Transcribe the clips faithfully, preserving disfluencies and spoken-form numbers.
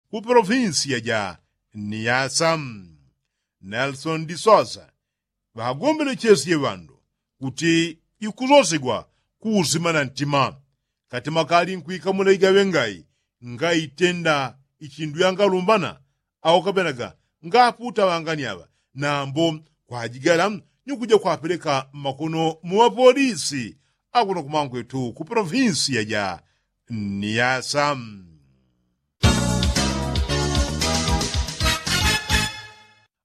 ku polofinsiya ja niyasa. Nelsoni disosa ŵagombelechesye ŵandu kuti ikusosegwa kuusima na ntima. Katima kali nkwikamula igaŵe ngai ngaitenda ichindu yangalumbana au kapenaga ngaputa ŵangani aŵa nambo kwajigala ni kuja kwapeleka mmakono mu ŵapolisi akuno kumangwetu ku polofinsiya ja niyasa.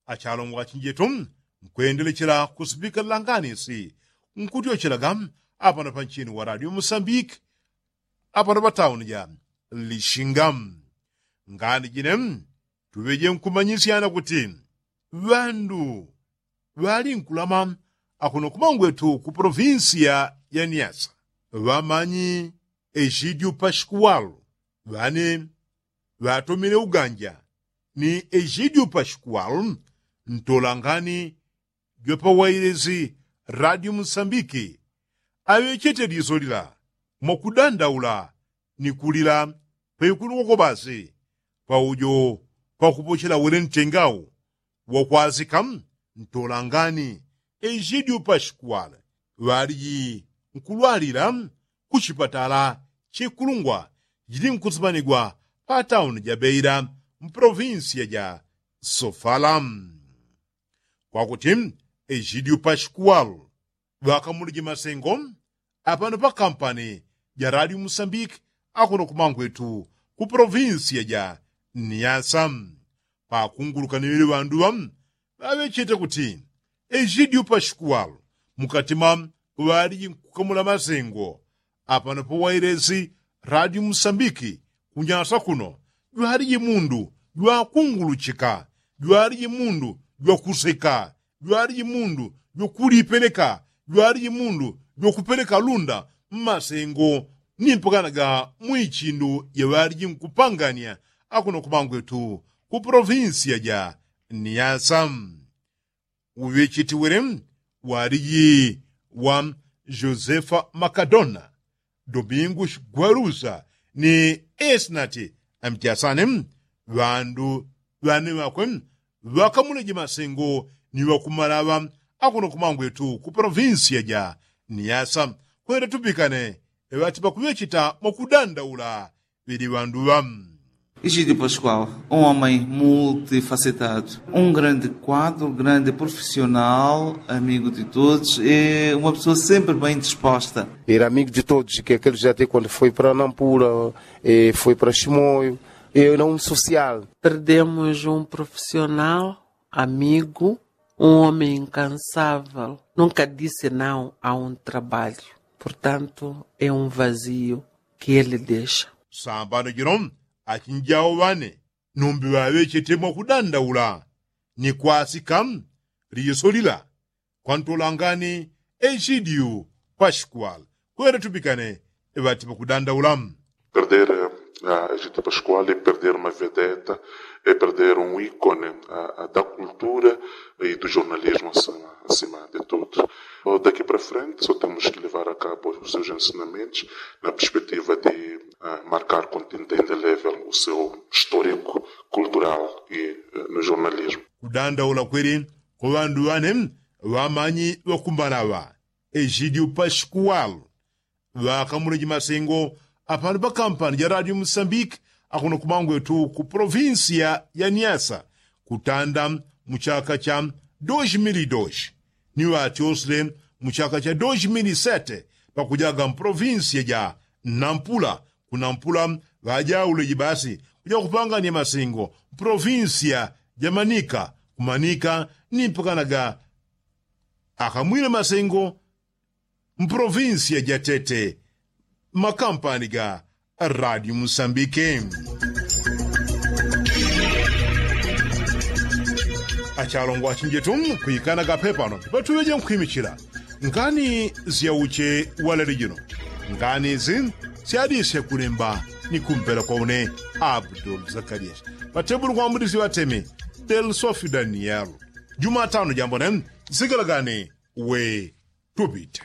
Achalongo achinjetu nkwendelechela kusipika langanisi nkutyochelaga apano panchini wa radio musambiki apano patauni ja lishinga. Ngani jine tuŵeje nkumanyisyana kuti ŵandu ŵali nkulama akuno kumangwetu ku polofinsiya ya niyasa ŵamanyi ejidiu paskuwalu ŵane ŵatomile uganja ni ejidiu paskuwalu ntolangani jwapawailesi radio musambiki aŵechete liso lila mwakudandaula ni kulila paikulu koko basi paujo pakupochela wele ntengau wakwasika ntolangani ejidiu paskuwale ŵaliji nkulwalila ku chipatala chikulungwa jili nkusimanigwa pa tauni ja beila mpolofinsiya ja sofala. Kwakuti ejidiu paskuwale ŵakamulije masengo apano pa kampani ja radio musambiki akuno kumangwetu ku polofinsiya ja niyasa. Pakunguluka ni ŵele ŵandu ŵa ŵaŵechete kuti ejidiu paskuwale mukatima ŵaliji nkukamula masengo apano pawailesi radio musambiki kunyasa kuno jwaliji mundu jwakunguluchika jwaliji mundu jwakuseka jwaliji mundu jwakulipeleka jwaliji mundu jwakupeleka lunda mmasengo ni mpakanaga mwichindu jaŵaliji nkupangania akuno kumangwetu ku polofinsiya ja niyasa. Uŵechetiwele waliji wa josefa makadona domingu shigwalusa ni esinati amchasane ŵandu ŵane ŵakwe ŵakamuleje masengo ni ŵakumalaŵa akuno kumangwetu ku polofinsiya ja niyasa kwenda tupikane ŵati pakuŵecheta mwakudandaula ŵeli ŵandu ŵa. Igidio pascual, um homem multifacetado, um grande quadro, grande profissional, amigo de todos, é uma pessoa sempre bem disposta. Era amigo de todos, que aqueles até quando foi para nampula, foi para chimoio, era um social. Perdemos um profissional, amigo, um homem incansável, nunca disse não a um trabalho. Portanto, é um vazio que ele deixa. Sambano jino achinjawo ŵane numbi ŵaŵechete mwakudandaula ni kwasika liso lila kwantolangani egidio pascual kwenda tupikane ŵati pakudandaula. Perder a egidio pascual e perder uma vedeta e perder um icone da cultura e do jornalismo acima de tudo. Daqui para frente só temos que levar a cabo os seus ensinamentos na perspectiva de marcar com tinta indelével o seu histórico cultural e no jornalismo. Kudandaula kweli kwa ŵandu ŵane ŵamanyi ŵakumbalaŵa egidio pascual ŵakamuleji masengo apano pa kampani ja radio musambiki akuno kumangwetu ku polofinsiya ya niasa kutanda mu chaka cha dos mil dos ni ŵatyosile mu chaka cha dos mil sete pakujaga mpolofinsiya ja nampula ku nampula ŵajauleji basi kuja kupangania masengo mpolofinsiya ja manika ku manika ni mpakanaga akamwile masengo mpolofinsiya ja tete makampani ga radio musambike. Achalongo achinjetu kwikana kape pano patuŵeje nkhwimichila ngani syauche walele jino ngani zi syadisye kulemba ni kumpela kwa une abdul zakarias patebulu kwambudisye ŵatemi del sofi daniel. Jumatano jambone zigalagani we tupite.